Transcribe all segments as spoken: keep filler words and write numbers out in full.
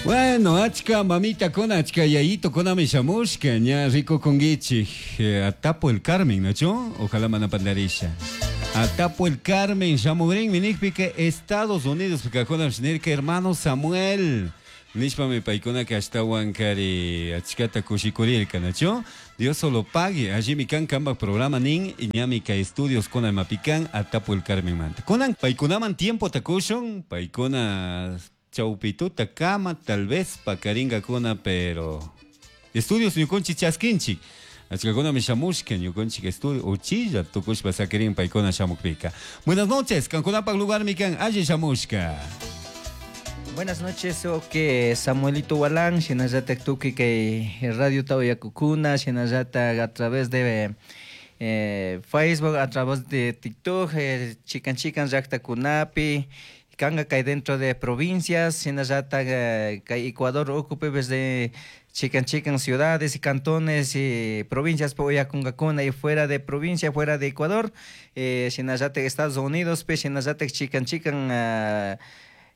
Bueno, achka mamitakuna, achka yayitukunami shamushka, ña rikukunkichik, Atapo el Carmen, ¿nachu? Ojalá mana pandarisha. Atapo el Carmen, shamugrinmi nikpika Estados Unidos kajkunapish nirka hermano Samuel. Nishpami paykunaka ashtawan kari achkata kushikurirka, ¿nachu? Dios solo pague, allimi kan kanpak programa nin, ñami kay estudios kuna imapi kan Atapo el Carmenmanta. Kunan paykunaman tiempota kushun, paykuna chawpituta kama tal vez pakaringakuna, pero estudios ñukunchik chaskinchik. Achkakunami shamushka ñukunchik estudio uchilla tukushpa sakirin paykuna shamukpika. Buenas noches, kankunapak lugarmi kan alli shamushka. Buenas noches, ok, Samuelito Walán, shinallatak tukuy kay Radio Tawayakukuna, shinallatak a través de eh, Facebook, a través de TikTok, eh, chikan chikan llaktakunapi, kanga kay dentro de provincias, shinallatak eh, kay Ecuador ukupi desde chikan chikan ciudades y cantones y provincias uyakungakuna y fuera de provincia, fuera de Ecuador, eh, shinallatak Estados Unidos, pe shinallatak chikan chikan uh,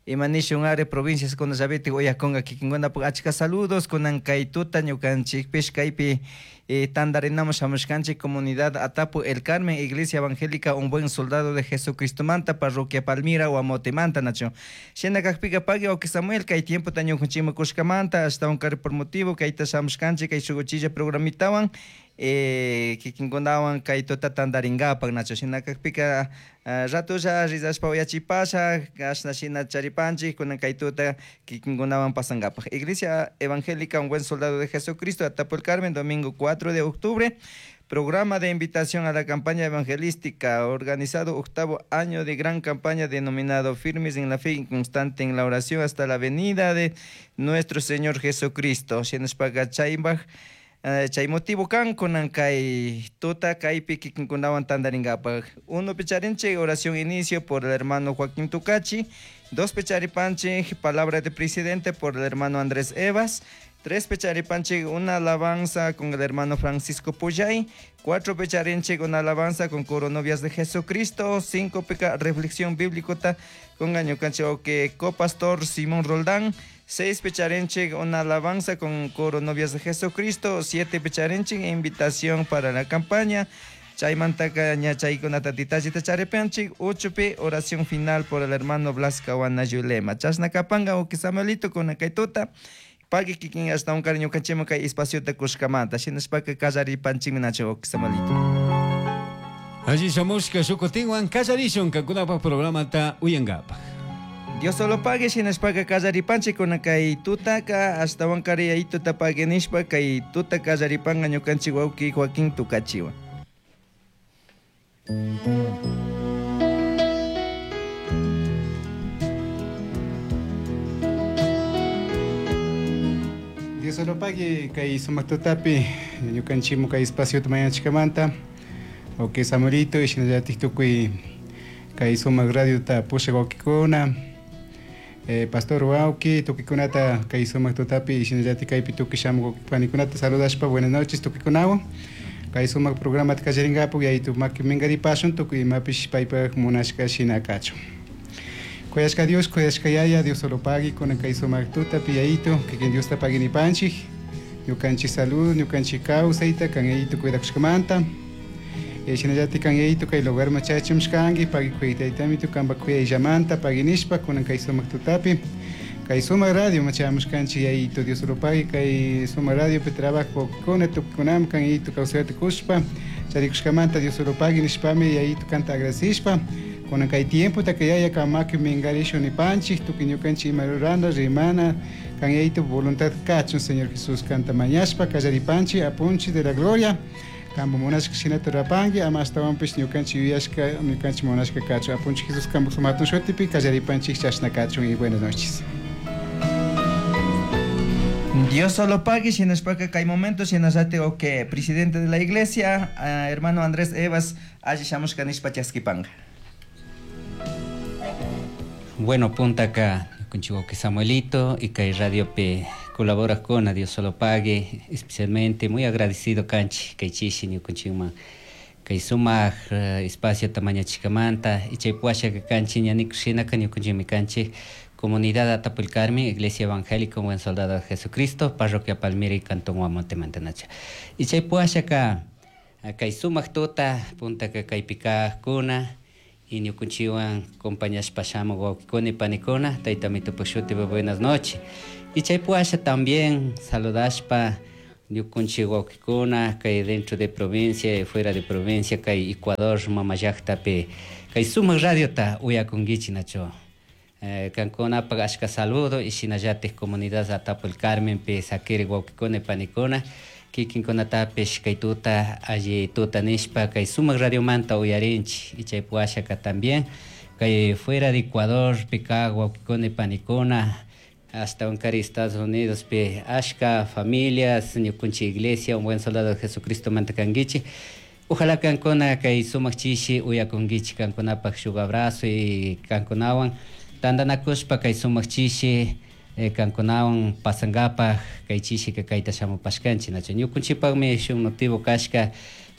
imanishun are provincias kuna llaviti uyakunga kikinkunapak achka saludos kunan kay tuta ñukanchikpish kaypi eh, tandarinamos shamushkanchik comunidad Atapo El Carmen, Iglesia Evangélica Un Buen Soldado de Jesucristomanta, Parroquia Palmira, Huamotemanta, nacho. Shina kakpika pagui wawki Samuel, kay tiempo ta ñukanchikman kushkamanta, ashtawan kari por motivo kayta shamushkanchik kay shuk uchilla programitawan, eh, kikinkunawan kay tuta tandarinkapak, nacho. Shina kakpika uh, ratulla rizashpa uyachipasha, ashna shina charipanchik, kunan kay tuta kikinkunawan pasankapak. Iglesia Evangélica Un Buen Soldado de Jesucristo, Atapo El Carmen, domingo cuatro de octubre, programa de invitación a la campaña evangelística, organizado octavo año de gran campaña denominado Firmes en la Fe y Constante en la Oración hasta la venida de nuestro Señor Jesucristo. Shinashpaka chaybaj, eh, chay motivo kan kunan kay tuta kaypi kikinkunawan tandarinkapak. Uno picharinchik, oración inicio por el hermano Joaquín Tucachi. Dos picharipanchik, palabra de presidente por el hermano Andrés Evas. Tres pecharipanchik, una alabanza con el hermano Francisco Puyay. Cuatro pecharinchik, una alabanza con coro novias de Jesucristo. Cinco peca, reflexión bíblica con añocanche que copastor Simón Roldán. Seis pecharinchik, una alabanza con coro novias de Jesucristo. Siete pecharinchik, invitación para la campaña. Chaymantaka ña chaykunata detalleta charipanchik. Ocho pe, oración final por el hermano Blas Cahuanayulema. Chashna kapanga wawki Samuelito con kay tuta. Pagui kikin ashtawan kari ñukanchikman kay espaciota kushkamanta. Shinashpaka kallaripanchikmi nacho wawki Samuelito. Alli shamushka shukutinwan kallarishun kankunapak programata uyankapak. Dios solo pague, shinashpaka kallaripanchik kuna kay tutaka ashtawan kari yayituta pague nishpa kay tuta kallaripanka ñukanchik wawki Joaquín Tucachiwan. Dios solo pague kay sumak tutapi ñukanchikmu kay espaciota mañachkamanta wawki Samuelito shinallatik tukuy kay sumak radiota pushak wawkikuna, eh, pastor wawki tukuy-kunata kay sumak tutapi shinallatik kaypi tukuy shamuk wawki panikunata saludashpa buenas noches tukuykunawan kay sumak programata kallarinkapak yaytu maki minkaripashun tukuy imapish paypak munashka shina kachun. Kuyashka Dios, kuyashka Yaya, Dios solo pagui kunan kay sumak tutapi yayito, kikin Dios ta pagui nipanchik, ñukanchik salud, ñukanchik kawsayta, kan yayito cuidakushkamanta. Eh, shinallatik kan yayito kay lugar machachimshkanki, pagui kuytaytamitu kanpak kuyayllamanta, pagui nishpa kunan kay sumak tutapi. Kay sumak radio machamushkanchik yayito, Dios solo pagui kay sumak radio pi trabajo kuna tukukunam kan yayito kawsayta kushpa, charikushkamanta Dios solo pagui nishpami yayito kanta agradecishpa. Kunan kay tiempo ta que yaya kamaki mingarishu nipanchik, tukuy ñukanchik ima rurana, rimana, kan yayito voluntad kachun, Señor Jesús, kanta mañashpa, kallaripanchik, apunchik de la gloria, kambo munashka shinata rurapanki, ama ashtawanpish ñukanchik yuyashka, ñukanchik munashka kachun, apunchik Jesús kambo sumatun shutipi, kallaripanchik chashna kachun y buenas noches. Dios solo pague, shinashpaka kay momento, shinashate o que presidente de la iglesia, uh, hermano Andrés Evas, alli shamushka nishpa chaskipanga. Bueno, punta acá con Chihuahua Samuelito y kay Radio P colabora con a Dios solo pague, especialmente muy agradecido kanchi kay chishi ñukanchikman kay sumak uh, espacio tamaña chikamanta y chay puasha kanchi ñanikushinaka ñukanchikmi kanchik Comunidad Atapo el Carmen, Iglesia Evangélica Buen Soldado de Jesucristo, Parroquia Palmira y Cantón Guamonte Mantanacha. Y chay puashaka kay sumaq tuta puntaka kaypi kaqkuna y ñukunchikwan compañashpa shamuq wawqikuna y panikuna, tayta Amitopak shutipi buenas noches. Y chay puasha también saludashpa ñukunchik wawqikuna kay dentro de provincia y fuera de provincia kay Ecuador mama llaqtapi kay sumaq radiota uyakunkichik nacho. Eh, kankunapak ashka saludo y shinallatik comunidad Atapo el Carmen pi sakiri wawqikuna y panikuna kikinkunatapish kay tuta alli tuta nishpa kay sumaq radiomanta uyarinchik y chay puashaka también kay fuera de Ecuador pi kaq wawqikuna y panikuna hasta unkari Estados Unidos pi ashka familias ñukunchik iglesia un buen soldado de Jesucristo manta kankichik. Ojalá kankuna kay sumaq chishi uyakunkichik kankunapak shuk abrazo y kankunawan tantanakushpa kay sumaq chishi eh, kankunawan pasankapaj kay chishika kayta shamupashkanchik nacho ñukunchikpakmi shuk motivo kashka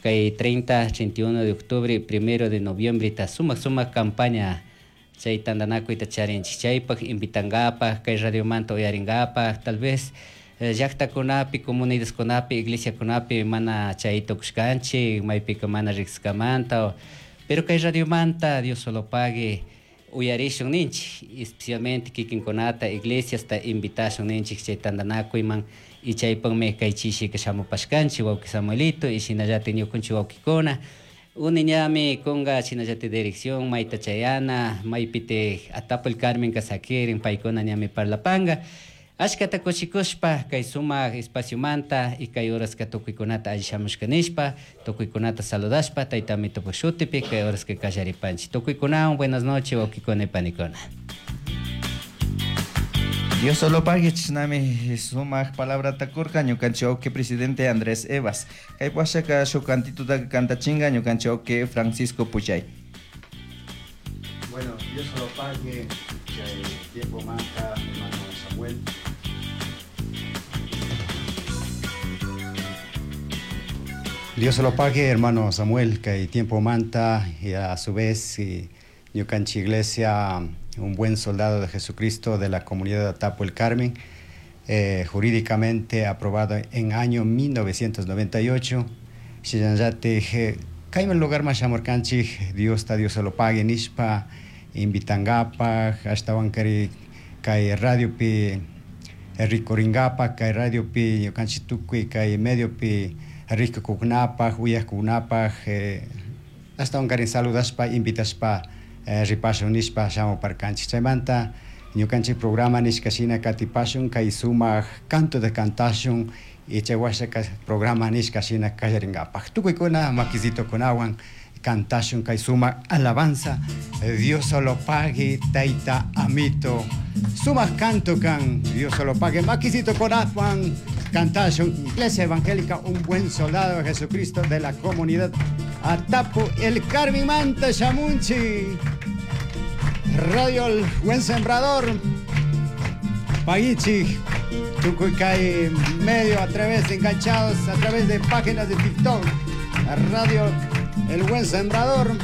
kay treinta, treinta y uno de octubre, primero de noviembre ta sumaq sumaq campaña chay tantanakuyta charinchik chaypak invitankapaj kay radiomanta uyarinkapaj tal vez eh, llaqtakunapi comunidadkunapi iglesiakunapi mana chay tukushkanchik maypika mana riqsiskamanta pero kay radiomanta Dios solo pague uyarishun ninchik especialmente kikinkunata iglesiasta invitashun ninchik chay tantanakuyman y chaypakmi kay chishika shamupashkanchik wawqi Samuelito y shinallatik ñukunchik wawqikuna uni ñami kunga shinallatik dirección mayta chayana maypitik Atapo el Carmen sakirin paykuna ñami parlapanga ashkata kushikushpa kay sumaq espaciomanta y kay horaska tukuykunata alli shamushka nishpa tukuykunata saludashpa tayta Amitopak shutipi kay horaska kallaripanchik tukuykunawan buenas noches wawqikuna y panikuna. Dios solo pague chisnami sumaq palabrata kurka ñukanchik wawqi presidente Andrés Evas kay puashaka shuk cantituta kantachinga ñukanchik wawqi Francisco Puchay. Bueno, Dios solo pague chay tiempo manta hermano Samuel. Dios se lo pague, hermano Samuel, que tiempo manta y a su vez ñukanchik iglesia, un buen soldado de Jesucristo de la comunidad de Atapo el Carmen, eh, jurídicamente aprobado en año mil novecientos noventa y ocho. Shillanllate, kayman lugar más amorkanchik, Dios ta Dios se lo pague, nishpa, invitangapa, hasta wankari kay radio pi rikuringapa, kay radio pi ñukanchik tukuy, kay medio pi rikukunapaj, uyajkunapaj, eh, hasta wankarin saludashpa, invitashpa, eh, ripashun nishpa shamuparkanchik. Chaymanta ñukanchik programa nishka shina katipashun, kay sumaq canto de cantashun, y chay washaka programa nishka shina kallaringapaj. Tukuykuna makisitokunawan cantashun kay sumaq alabanza, Dios solo pague, tayta amito. Sumaq canto kan, Dios solo pague, makisitokunawan cantashun. Iglesia Evangélica, un buen soldado de Jesucristo de la comunidad Atapo el Carmen Manta Shamunchi. Radio El Buen Sembrador, Paguichi, Tucuicay medio a través de enganchados, a través de páginas de TikTok, Radio El Buen Sembrador.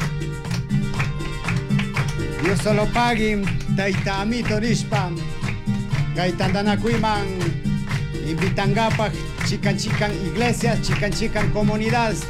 Dios solo pague, Taita Amito Nishpa, Gaitandanacuiman, Invitangapa, Chican Chican Iglesias, Chican Chican Comunidades,